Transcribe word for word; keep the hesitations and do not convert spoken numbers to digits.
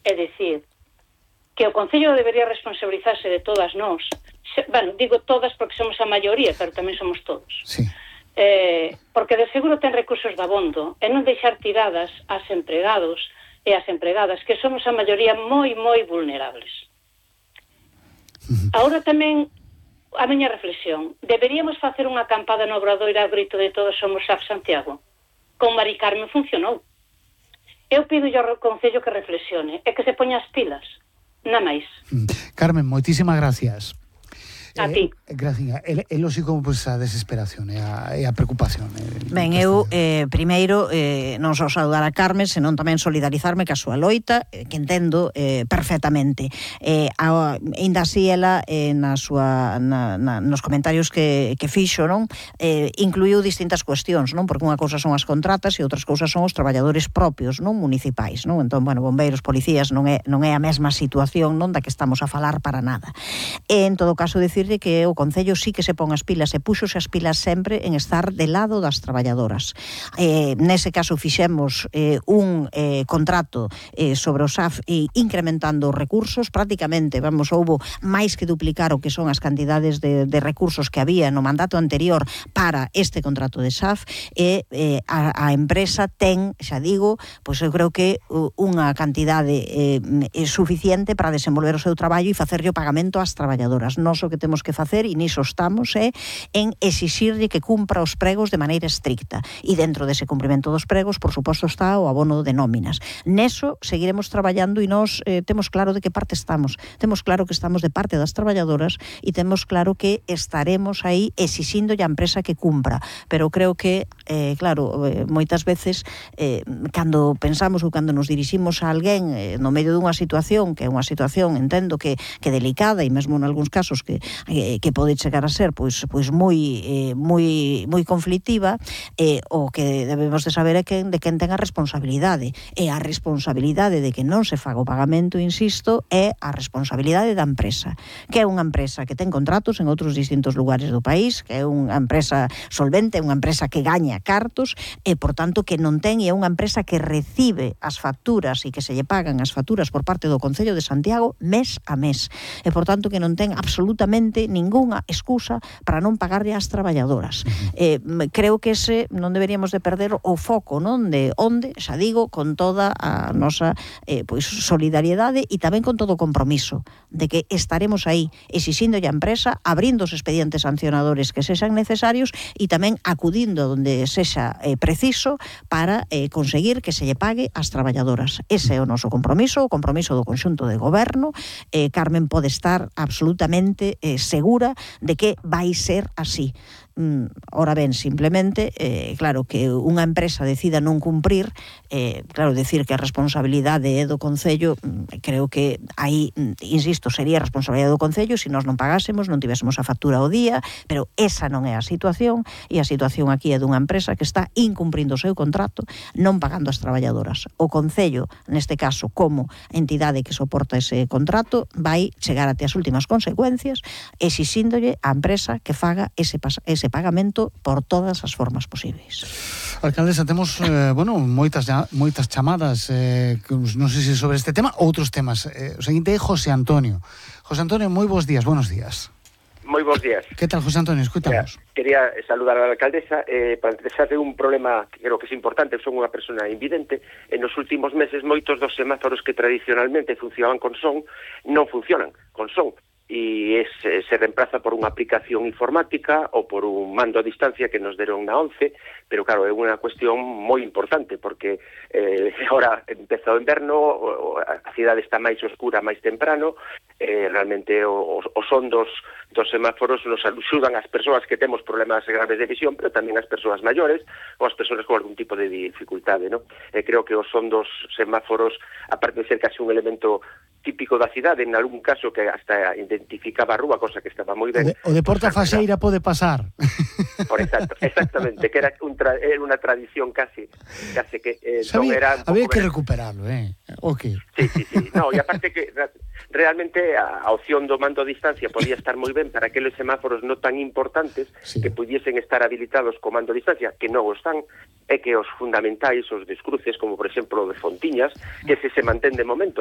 é dicir, que o Concello debería responsabilizarse de todas nós, se, bueno, digo todas porque somos a maioría, pero tamén somos todos. Sí. Eh, porque de seguro ten recursos de abondo e non deixar tiradas as empregados e as empregadas, que somos a maioría moi, moi vulnerables. Agora tamén a miña reflexión, deberíamos facer unha acampada no Obradoiro ao grito de todos somos A F Santiago. Con Mari Carmen funcionou. Eu pido ao Concello que reflexione e que se poña as pilas, nada máis. Carmen, moitísimas gracias. A ti. Eh, gracias. É, é lógico, pois, a desesperación e a, e a preocupación. Eh, Ben, eu, eh, primeiro, eh, non só saudar a Carmen, senón tamén solidarizarme ca súa loita, eh, que entendo eh, perfectamente. Eh, a, ainda así, ela, eh, na súa, na, na, nos comentarios que, que fixo, non? Eh, incluiu distintas cuestións, non? Porque unha cousa son as contratas e outras cousas son os traballadores propios, non? Municipais, non? Entón, bueno, bombeiros, policías, non é, non é a mesma situación, non? Da que estamos a falar para nada. E, en todo caso, decir que o Concello sí que se pon as pilas e puxose as pilas sempre en estar de lado das traballadoras. Eh, nese caso fixemos eh, un eh, contrato eh, sobre o S A F e incrementando os recursos, prácticamente, vamos, houbo máis que duplicar o que son as cantidades de, de recursos que había no mandato anterior para este contrato de S A F e eh, a, a empresa ten, xa digo, pois eu creo que unha cantidade eh, suficiente para desenvolver o seu traballo e facerlle o pagamento ás traballadoras. Nos o que temos que facer, e niso estamos, é en exixirlle que cumpra os pregos de maneira estricta. E dentro dese cumprimento dos pregos, por suposto, está o abono de nóminas. Neso seguiremos traballando e nós eh, temos claro de que parte estamos. Temos claro que estamos de parte das traballadoras e temos claro que estaremos aí exixindo a empresa que cumpra. Pero creo que, eh, claro, eh, moitas veces, eh, cando pensamos ou cando nos diriximos a alguén eh, no medio dunha situación, que é unha situación, entendo que, que delicada e mesmo en algúns casos que que pode chegar a ser pois pois moi eh, moi moi conflictiva, eh, o que debemos de saber é que de quen ten a responsabilidade. E a responsabilidade de que non se faga o pagamento, insisto, é a responsabilidade da empresa, que é unha empresa que ten contratos en outros distintos lugares do país, que é unha empresa solvente, unha empresa que gaña cartos e, por tanto, que non ten, e é unha empresa que recibe as facturas e que se lle pagan as facturas por parte do Concello de Santiago mes a mes. E, por tanto, que non ten absolutamente ningunha excusa para non pagarlle ás traballadoras. Eh, creo que ese non deberíamos de perder o foco, non? De onde, xa digo, con toda a nosa eh, pois solidariedade e tamén con todo o compromiso de que estaremos aí exixindo a empresa, abrindo os expedientes sancionadores que sexan necesarios e tamén acudindo onde sexa eh, preciso para eh, conseguir que se lle pague ás traballadoras. Ese é o noso compromiso, o compromiso do conxunto de goberno. Eh, Carmen pode estar absolutamente eh, segura de que vai ser así. Mm, ora ben, simplemente, eh, claro, que unha empresa decida non cumprir, eh, claro, decir que a responsabilidade é do Concello, mm, creo que aí, mm, insisto, sería a responsabilidade do Concello se nós non pagásemos, non tivésemos a factura ao día, pero esa non é a situación, e a situación aquí é dunha empresa que está incumprindo o seu contrato, non pagando as traballadoras. O Concello, neste caso, como entidade que soporta ese contrato, vai chegar até as últimas consecuencias exixíndolle á empresa que faga ese, ese pagamento por todas as formas posibles. Alcaldesa, temos, eh, bueno, moitas moitas chamadas, eh, non sei se sobre este tema, outros temas. Eh, o seguinte é José Antonio. José Antonio, moi bons días, buenos días. Moi bons días. Que tal, José Antonio? Escuitamos. Mira, quería saludar a la alcaldesa eh, para interesar de un problema que creo que es importante. Son unha persona invidente. En os últimos meses moitos dos semáforos que tradicionalmente funcionaban con son non funcionan con son. E es, se reemplaza por unha aplicación informática ou por un mando a distancia que nos deron na once, pero claro, é unha cuestión moi importante porque eh, agora empeza o inverno, a cidade está máis oscura máis temprano, eh, realmente o, o son dos, dos semáforos nos axudan as persoas que temos problemas graves de visión, pero tamén as persoas maiores ou as persoas con algún tipo de dificultade, ¿no? Eh, creo que o son dos semáforos, aparte de ser casi un elemento típico da cidade, en algún caso que hasta identificaba a rúa, cosa que estaba moi ben. O de, o de Porta Faxeira pode pasar. Por exacto, exactamente, que era, un tra, era unha tradición casi, casi que eh, Sabía, non era... Había que recuperarlo, eh? Okay. Sí, sí, sí. No, e aparte que realmente a, a opción do mando a distancia podía estar moi ben para aqueles semáforos non tan importantes, sí, que pudiesen estar habilitados co mando a distancia, que non o están, é que os fundamentais, os descruces, como por exemplo o de Fontiñas, que se se mantén de momento,